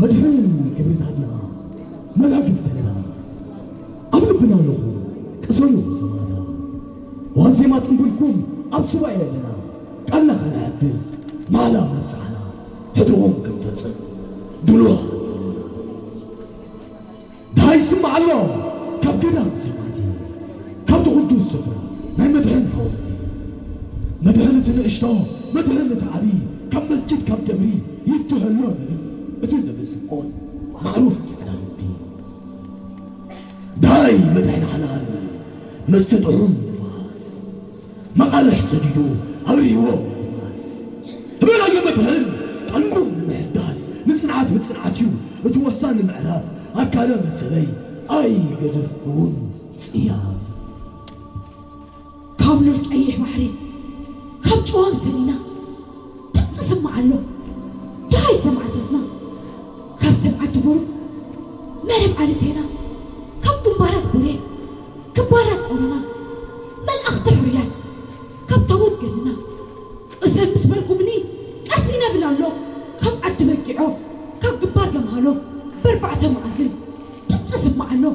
መድሕን ክብርታትና መላግብ ዘለና ኣብ ልብና ኣለኹ። ቅሰኑ ሰማዕታ ዋዜማ ጽንብልኩም ኣብ ሱባኤ ኣለና። ቃልና ከነሐድስ ማላ መብጽዓና ሕድሮም ክንፈጽም ድሉዋት ኣለና። ደሃይ ይስማዕ ኣሎ ካብ ገዳም ሰማዕቲ፣ ካብቲ ቅዱስ ስፍራ ናይ መድሕን ሓወልቲ። መድሕን እቲ ንእሽቶ፣ መድሕን እቲ ዓቢ፣ ካብ መስጊድ ካብ ደብሪ ይትህሎ ነቢ፣ እቲ ነቢ ስምዖን ማዕሩፍ ጸዳ ልቢ። ደሃይ መድሕን ሓላል መስተ ጥዑም ንፋስ፣ መቓልሕ ሰዲዱ ኣብርህዎ ኣድማስ። ህበናዮ መድሕን ጠንቁ ንምሕዳስ፣ ንጽንዓት ብጽንዓት እዩ እቲ ወሳኒ ምዕራፍ። ኣካለ መሰለይ ኣይገደፍኩን ጽያፍ። ካብ ሉል ቀይሕ ባሕሪ ካብ ጨዋም ሰኒና ድምፂ ስማዕ ኣሎ። ደሃይ ሰማዕታትና ካብ ሰብ ዓዲ ቡሩ መረብ ዓሊ ቴና፣ ካብ ግንባራት ቡሬ ግንባራት ጾሮና፣ መልኣኽቲ ሕሩያት ካብ ታቦት ገድልና ቅሰን ምስ በልኩምኒ ቀስ ይነብል ኣሎ። ካብ ዓዲ በጊዖ ካብ ግንባር ገምሃሎ በርባዕተ መኣዝን ድምፂ ስማዕ ኣሎ።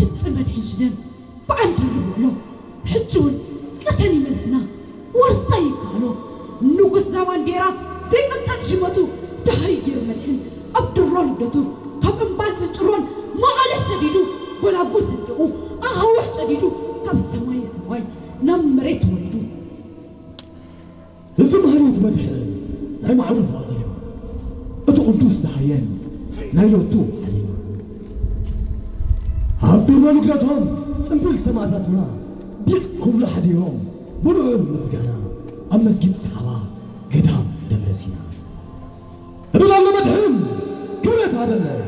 ድምፂ መድሕን ሽደን በዓል ድርብ ውዕሎ ሕጂ እውን ቅሰን ይመልስና። ወርሳ ይከኣሎ ንጉስ ዛባንዴራ ዘይቅንጠጥ ሽመቱ ደሃይ ገይሩ መድሕን ኣብ ድሮ ልደቱ ካብ እምባስ ዝጭሮን መቓልሕ ሰዲዱ ጎላጉል ሰንጢቑ ኣኻውሕ ጨዲዱ ካብ ሰማይ ሰማይ ናብ መሬት ወሪዱ። እዚ ማህሌት መድሕን ናይ ማዕሩፍ ዋዜማ እቲ ቅዱስ ደሃየን ናይ ሎቱ ዓሊማ ኣብ ድሮ ልደቶም ጽንብል ሰማዕታትና ዲቕ ክብሉ ሓዲሮም ብልዑል ምስጋና ኣብ መስጊድ ሰሓባ ገዳም ደብረ ሲና እብል ኣሎ መድሕን ክብረት ሃበለይ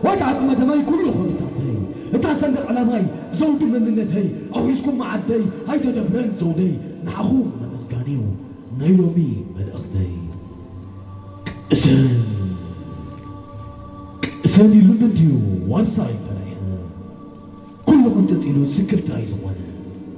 ዋጋ ዓጽመ ደመይ ኩሉ ክብርታተይ እታ ሰንደቕ ዕላማይ ዘውዲ መንነተይ ኣውሒዝኩም መዓደይ ኣይተደፍረን ዘውደይ ንዓኹም ንምስጋን እዩ ናይ ሎሚ መልእኽተይ። ቅሰን ቅሰን ኢሉኒ እንድዩ ዋርሳይ ፈሪሐ ኩሉ ቅንጥጥ ኢሉ ስክፍታይ ዝኾነ